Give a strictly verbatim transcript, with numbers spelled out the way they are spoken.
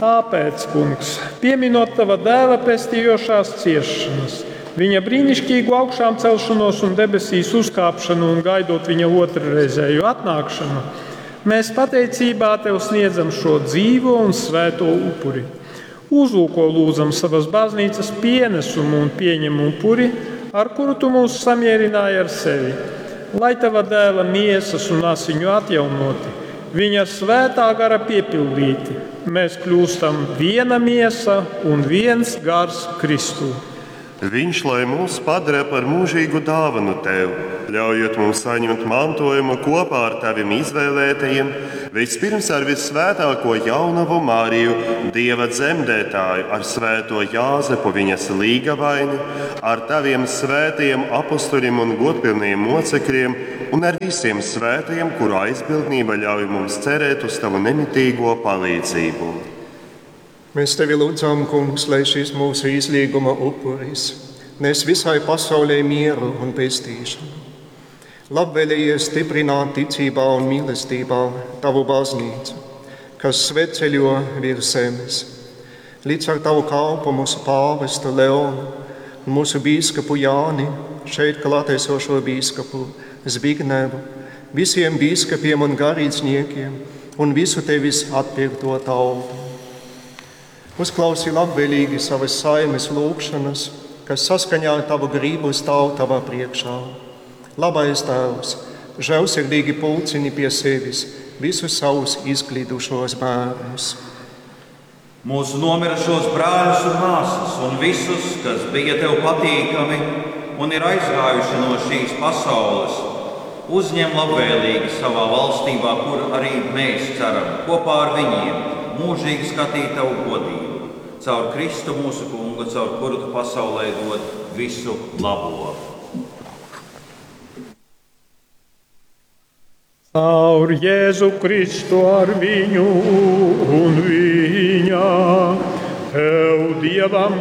Tāpēc, Kungs, pieminot tava dēla pestījošās ciešanas, viņa brīnišķīgu augšām celšanos un debesīs uzkāpšanu un gaidot viņa otrreizēju atnākšanu, mēs pateicībā tev sniedzam šo dzīvo un svēto upuri. Uzlūko lūdzam savas baznīcas pienesumu un pieņem upuri, ar kuru tu mūs samierināji ar sevi. Lai tava dēla miesas un asiņu atjaunoti, viņa svētā gara piepildīti, mēs kļūstam viena miesa un viens gars Kristū. Viņš lai mūs padara par mūžīgu dāvanu tev, ļaujot mums saņemt mantojumu kopā ar taviem izvēlētajiem, vispirms ar vissvētāko jaunavu Mariju, Dieva dzemdētāju, ar svēto Jāzepu viņas līgavaini, ar taviem svētajiem apustuļiem un godpilniem mocekļiem un ar visiem svētajiem, kuru aizbildnība ļauj mums cerēt uz tavu nemitīgo palīdzību. Mēs tevi lūdzam, Kungs, lai šis mūsu izlīguma upuris nes visai pasaulē mieru un pestīšanu. Labvēlējies stiprināt ticībā un mīlestībā tavu baznīcu, kas svētceļo virs zemes. Līdz ar tavu kalpu mūsu pāvestu Leonu un mūsu bīskapu Jāni, šeit klātesošo bīskapu Zbignevu, visiem bīskapiem un garīdzniekiem un visu tevis atpirkto tautu. Uzklausi labvēlīgi savas saimes lūgšanas, kas saskaņā ar tavu gribu stāv tavā priekšā. Labais Tēvs, žēlsirdīgi pulcini pie sevis visus savus izklīdušos bērnus. Mūsu nomirušos brāļus un māsas un visus, kas bija tev patīkami un ir aizgājuši no šīs pasaules, uzņem labvēlīgi savā valstībā, kur arī mēs ceram kopā ar viņiem mūžīgi skatīt tavu godību. Caur Kristu mūsu kungu, caur kuru tu pasaulē dod visu labo. Caur Jēzu Kristu ar viņu un viņā, tev Dievam